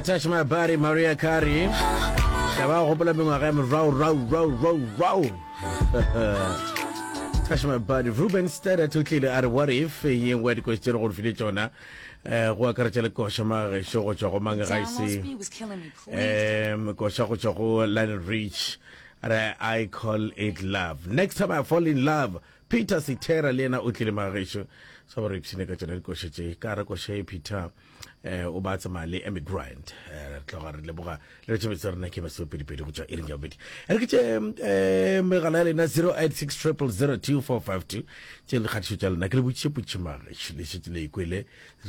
I touch my body Maria Carey. Ka ba gopola mengwaga ya merau rau rau rau rau. Touch my body Ruben Studdard o tlile a re what if ye nngwe ya dikoši tše re go file tšona eh go akaretša le koša magešo go tšwa go mang ga ise um koša go tšwa go Lionel Rich re I call it love next time I fall in love Peter Sithera le yena o tlile magešo sa gore ipshine ka tšona dikoša tše ka re koša e Peter eh o ba tsamaya le Amy Grant eh re tloga re leboga le re tšhebetso rena ke masomepedipedi go tšwa iring ya bobedi re ke tše eh megala ya lena 086 0002452 tše le kgatišo tša lena ke le botšiše potšišo magešo le šetše le ikwele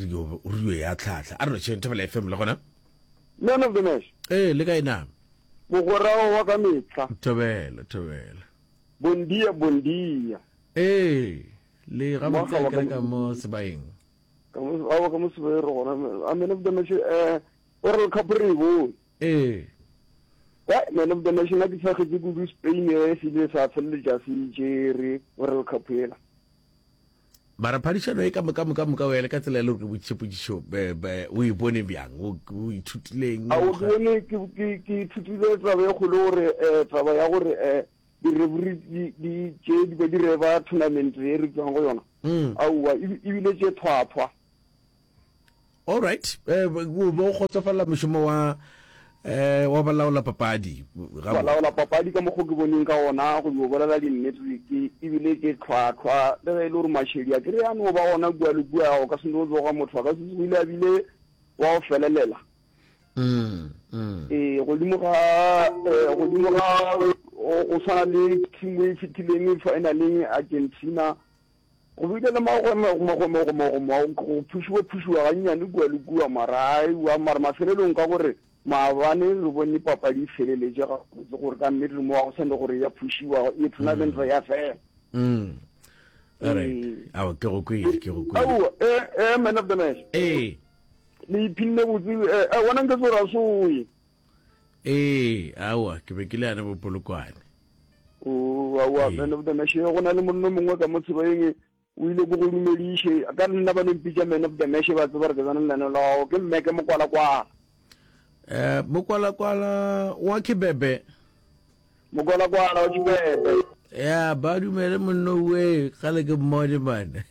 re yo re yo ya tlhahla a re lotšheng thobela fm le gona Man of the match. Ee, le kae na? Mogwera wa ka mehla. Thobela, thobela. Bon dia, bon dia. Ee, le gabotse a kere ka mo sebaeng. Ka mo awa ka mo sebaeng re gona. A man of the match eh World Cup re e bone. Ee. Eh, man of the match nna ke tshwagetse kudu Spain e se ile sa feleletša se tšere World Cup ela. Mara phadišano e ka moka moka moka o ya le ka tsela e le gore ke botšiše potšišo o e bone bjang o ithutileng? A o bone ke ke ke ithutile taba e kgolo gore eh taba ya gore eh di-referee di di tše di be di reba tournament e re tswang go yona. Mm. Aowa ebile tše thwathwa. All right. Eh, o bo kgotsofalela mošomo wa eh wa balaola papadi. Balaola papadi ka mokgo ke boneng ka ona go yo bolela dinnete ke ebile ke tlhwatlhwa le ge e le gore mašedi a kere a no ba gona kua le kua o ka se no tsoga motho a ka se o ile a bile wa go felelela. Mm, mm. Ee, godimo ga eh, godimo ga go tshwana le team e fitileng finaleng Argentina Go bile le magwemegomegomegomego, go phušiwa-phušiwa gannyane kua le kua, mara aewa, mara mafelelong ka gore maabane re bone papadi e feleletše gabotse gore ka nnete mo ga go sa ne gore ya phušiwa, e tournament ya fela. Mm. All right. Ee. Ao, ke go kwele, ke go kwele. Aowa, eh, eh, man of the match. Ee. Le iphinne botse, eh, eh, wena nke se o ra soe. Ee, aowa, ke be ke le yane bopolokwane. O, aowa, Ee. man of the match, go na le monno mongwe ka mo tshebaeng, o ile ko go dumediše, ka nna ba no mpitša man of the match, ba tseba gore ke tsena lenaneo la gago, ke mme ke mokwalakwala. Eh, mokwalakwala wa Kibebe. Mokwalakwala wa Kibebe. Ya, ba dumele monno we, kgale ke mmone man.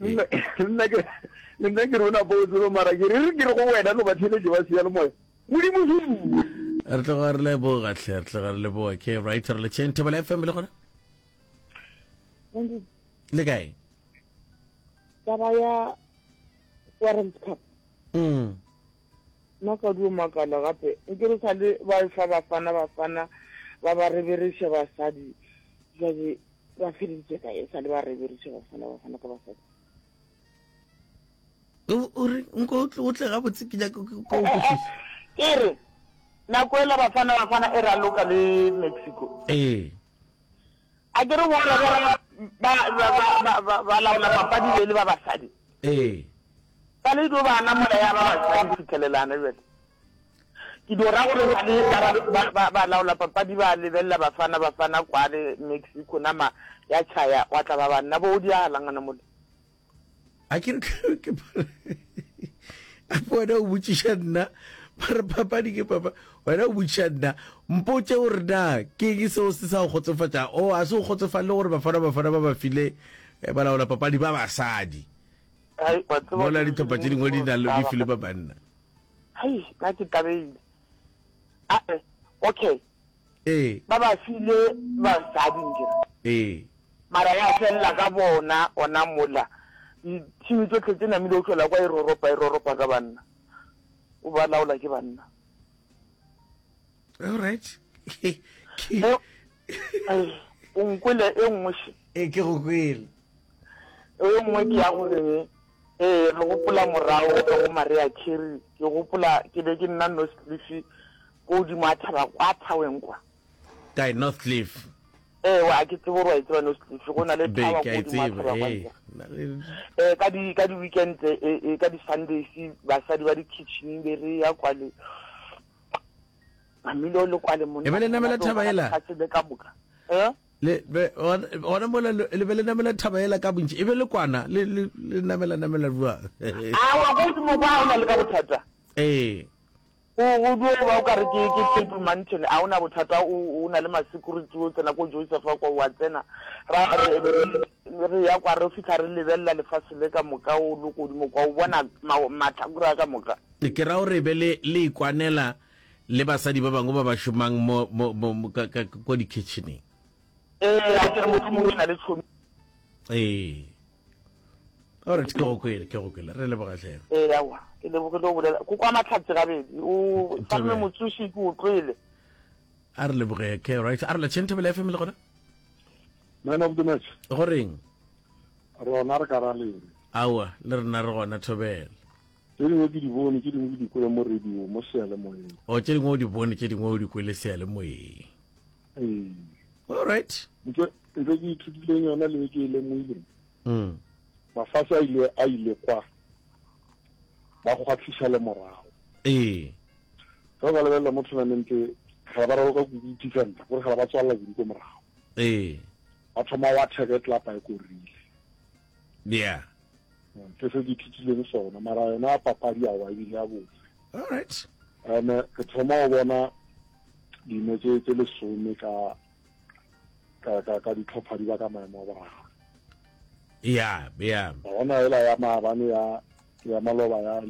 Nna nna ke nna ke re o napa o tsebe mara ke re re ke re go wena no ba theletše ba seyalemoya. Modimo huwe. Re tloga re leboga hle, re tloga re leboga. Ke right re letšeng Thobela FM le gona. Le kae? Taba ya World Cup. Mm. Nna ka dio makala gape nke re sa le ba fa bafana bafana ba ba rebereša basadi jale ba feleditše kae sa le ba rebereša bafana bafana ka basadi. O re nko o tle gabotse ke nyaka ko o kwešiša. Ke re nako ela Bafana Bafana e raloka le Mexico. Ee. A ke re bona ba ba ba ba ba laola papadi be le ba basadi. Ee. Ba le dio ba namola ya ba basadi fitlhelelana jale. Ke dio ra gore ba le ba ba ba laola papadi ba lebelela Bafana Bafana kwa le Mexico nama ya tšhaya wa tla ba banna bo o dialang ngwana mola. A ke re ke ape wena o botšiša nna ba re papadi ke papa wena o botšiša nna mpotše gore na ke eng seo se sa go kgotsofatša o a se o kgotsofalele gore bafana bafana ba ba file eh, balaola papadi ba basadi Hai, wa tseba mola ke ditlhopha tše dingwe di na le di file ba banna Hai, nna ke tabehile. Ae, okay. Ee. Ba ba file basadi nkere. Ee. Mara ya felela ka bona ona mola. Di-team tsohle tse namile o hlola kwa e roropa e roropa ka banna. O ba laola ke banna. All right. Ke o nkwele e nngwe še. Ee ke go kwele. E nngwe ke ya gore ee re gopola morago ka go Maria Carey ke gopola ke be ke nna Northcliff Ko godimo a thaba kwa thaweng kwa. Kae, North Cliff? Ee, wa ke tsebe gore wa e tseba North Cliff. Go na le Be, thaba ke ko a e godimo a tseba, thaba kwa ee. ntle. Eh, ka di ka di weekend eh, eh, ka di Sundays basadi ba di kitchen be re ya kwa le mamile le kwa le monna. E be le namela monate o thaba bona ela? lefatshe le ka moka. Eh? Le be gona gona mola le le be le namela thaba ela ka bontši e be le kwana le le le namela namela bjang? Awa, ko godimo kwa ha o na le ka bothata. Ee. Go go dio ba o ka re ke ke Table Mountain a o na bothata o o na le ma security o tsena ko Joseph kwa wa tsena ra re re ya kwa re fihla re lebelela lefase le ka moka o le godimo kwa o bona mahlakore a ka moka. Ke ra gore be le le ikwanela le basadi ba bangwe ba ba šomang mo mo mo ka ka ko di-kitcheneng. Ee, a ke re mohlomongwe ke na le tšhomi. Ee. Alright, ke go kwele, ke go kwele. Re leboga hle. Ee, aowa, ke lebogile go bolela. Ko kwa Mahlatse gabedi. O Salome Motsoši ke o tlwele. A re leboge, okay, right. A re la tšheng Thobela FM le gona? Man of the match. Go reng? Rona re ka ra leng. Aowa, le rena re gona Thobela. Tše dingwe ke di bone, tše dingwe ke di kwele mo radio, mo seyalemoyeng. O tše dingwe o di bone, tše dingwe o di kwele seyalemoyeng. Ee. All right. Ntho ntho ke ithutileng yona le e ke e lemoileng. Mm. Mafase a ile a ile kwa ba kgwathiša le morago. Ee. Ge o ka lebelela mo tournament ga ba raloka kudu defender, gore ga ba tswalela kudu ko morago. Ee. Ba thoma wa attack tlapa e korile. Yeah. Ke se ke ithutileng sona, mara yona papadi awa ebile ya botse. All right. And ke thoma go bona dino tse tse lesome ka ka ka ka ditlhopha di ba ka maemo a boraro. Ya, ya. Bona ela ya maabane ya ya maloba ya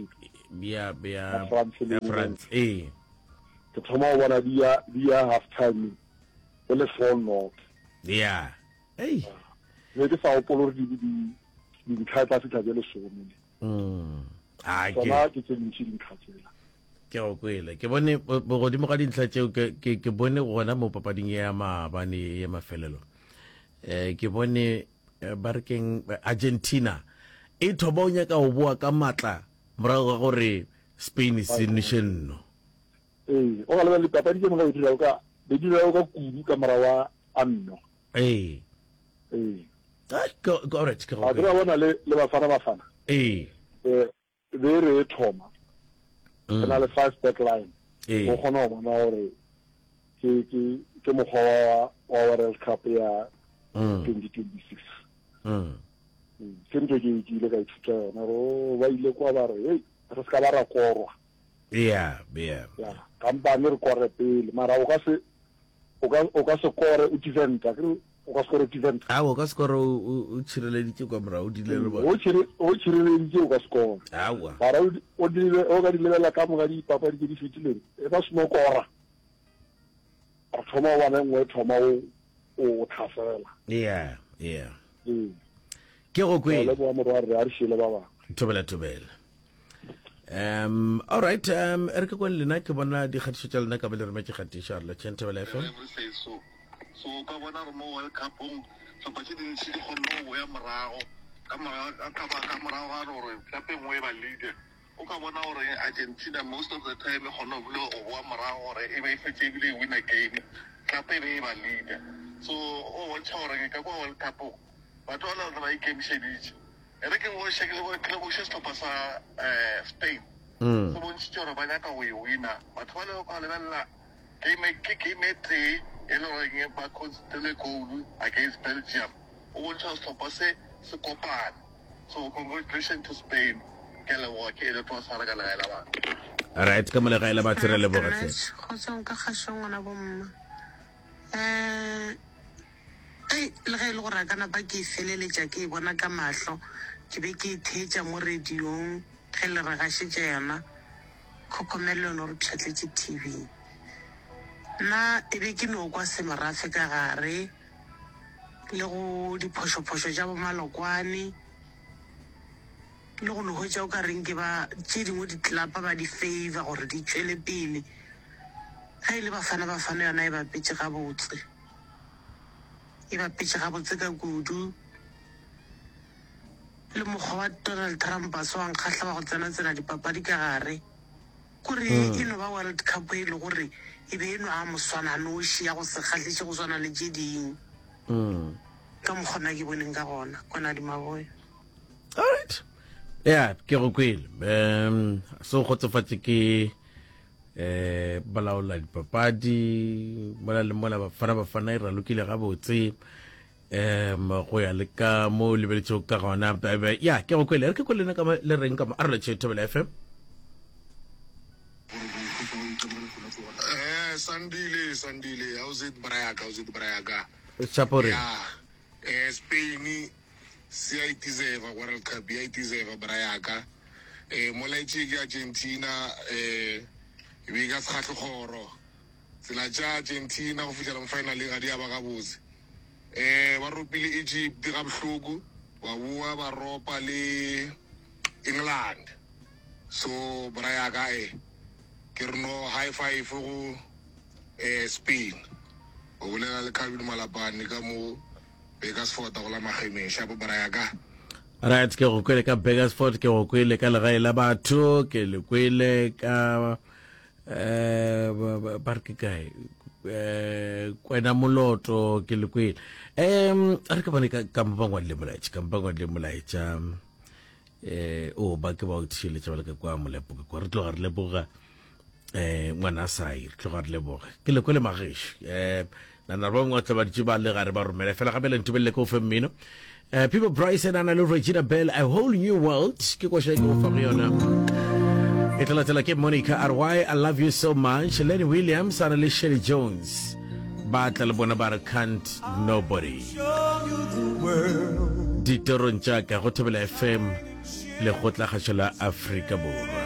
ya ya France le France. Eh. Ke thoma go bona di ya di ya half time go le 4 not. Ya. Ei. Ne ke sa gopole gore di di dintlha tla fitlha tse lesome. Mm. Ah, ke Tsona ke tse dintši dintlha tsela. Ke go kwele. Ke bone godimo ga dintlha tšeo ke ke ke bone gona mo papading ya maabane ya mafelelo. Eh ke bone eh, ba re keng Argentina e thoba o nyaka go boa ka matla morago ga gore Spain se nweše nno. Ee, o ka lebelela dipapadi tše moka di dirago ka be di dirago ka kudu ka morago wa a nno. Ee. Ee. Ah, ke alright ke go. A ke bona le le Bafana Bafana. Ee. Eh be re e thoma re na le five back line Ee. o kgona go bona gore ke ke ke mokgwa wa wa World Cup ya 2026 Mm. Ke ntho ke ke ile ka ithuta yona gore oh, ba ile kwa ba re hey re se ka ba ra korwa Yeah, yeah. ya kampane re kore pele mara o ka se o ka o ka se kore o defender ke o ka se kore defender a o ka se kore o tshireleditse kwa morago o dile le bona o tshireleditse o ka se kore awa mara o dire o ka di lebelela ka moka dipapadi tse di fetileng e ba seno kora re thoma o bona nngwe e thoma o o tlhasela yeah yeah ee ke go kwele leboga morwa re a re šele ba bangwe thobela thobela Um, all right, um, re ke kwane lena ke bona dikgatišo tša lena ka be le rometše kgatišo a re lotšheng Thobela FM. So, so o ka bona gore mo World Cupong hlopha tše dintši di kgonne go boya morago ka morago ka ka morago ga gore klape e nngwe e ba leader. O ka bona gore Argentina most of the time e kgone go go boa morago gore e be e fetše ebile e winner game, klape e be e ba leader. So o bontšha gore ka kwa World Cupong batho ba le ba ikemišeditše. E re ke boše, ke leboše sehlopha sa Spain. Se bontšhitše gore ba nyaka go e wina. Batho ba le ka lebelela game, ke game e tee e le goreng ba concedile goal against Belgium. O bontšha gore sehlopha se se kopane. So congratulations to Spain. Ke a leboga, ke Elliot wa Sara ka legae la batho. Right, ka mo legae la batho re leboga hle. Kgotsong ka kgašong ngwana bomma. Eh Ei, le ge e le gore a ka napa ke e feleletša ke e bona ka mahlo, ke be ke e theetša mo radiong ge le re gašetša yona, Khokhomelelo o no re pšhatletše TV. Nna e be ke no kwa semorafe ka gare le go diphošophošo tša bomalokwane le go no hwetša o ka reng ke ba tše dingwe ditlelapa ba di favour gore di tšwele pele. Ge e le Bafana Bafana yona e bapetše gabotse. E bapetše gabotse ka kudu. Le mokgwa wa Donald Trump a se wa nkgahla wa go tsena-tsena dipapadi ka gare. Kore e no ba World Cup e le gore e be e no a moswananoši ya go se kgahliše go swana le tše ding. Ka mokgwa nna ke boneng ka gona. Konadi Maboya. Alright. Ya, ke go kwele. Um, se o kgotsofatše ke eh balaola dipapadi mola le mola bafana bafana e ralokile gabotse um go ya le ka mo lebeletšego ka gona ya ke go kwele re ke kwele lena ka le reng ka mo a re letšhe thobela fm. Eh, Sandile, Sandile, how's it Brayaka, how's it Brayaka? Chapo re. Yeah. Eh, Spain se ya deserve World Cup, ya deserve Brayaka. Eh, molaetše ke Argentina, eh, e be ka sekgahle kgoro. Tsela tša Argentina go fihlela mo finaleng ga di a ba gabotse. Eh, ba ropile Egypt ga bohloko, ba boa ba ropa le England. So bra ya ka e ke re no high five go eh Spain. O bolela le Calvin Malapane ka mo Bakersford go la Magemeng. Shapo bra ya ka. Right, ke go kwele ka Bakersford, ke go kwele ka legae la batho, ke le kwele ka eh ba re ke kae eh kwena moloto ke le kwele. Em re ke bone ka ka mo ba ngwadile molaetša, ka mo ba ngwadile molaetša. Eh o ba ke ba o theeletša ba le ka kwa molepo ka kwa re tloga re leboga eh ngwana sai re tloga re leboga ke le kwele magešo eh nana ba bangwe tla ba ditše ba le gare ba romela fela gape le ntubelele ke o fe mmino eh people Bryson ana le Regina Bell a whole new world ke koša e ke go fa go yona e tla latela ke Monica RY I love you so much Lenny Williams ana le Shelly Jones Ba tla le bona ba re can't nobody. Ditorong tša ka go Thobela FM, Lekgotlakgašo la Afrika Borwa.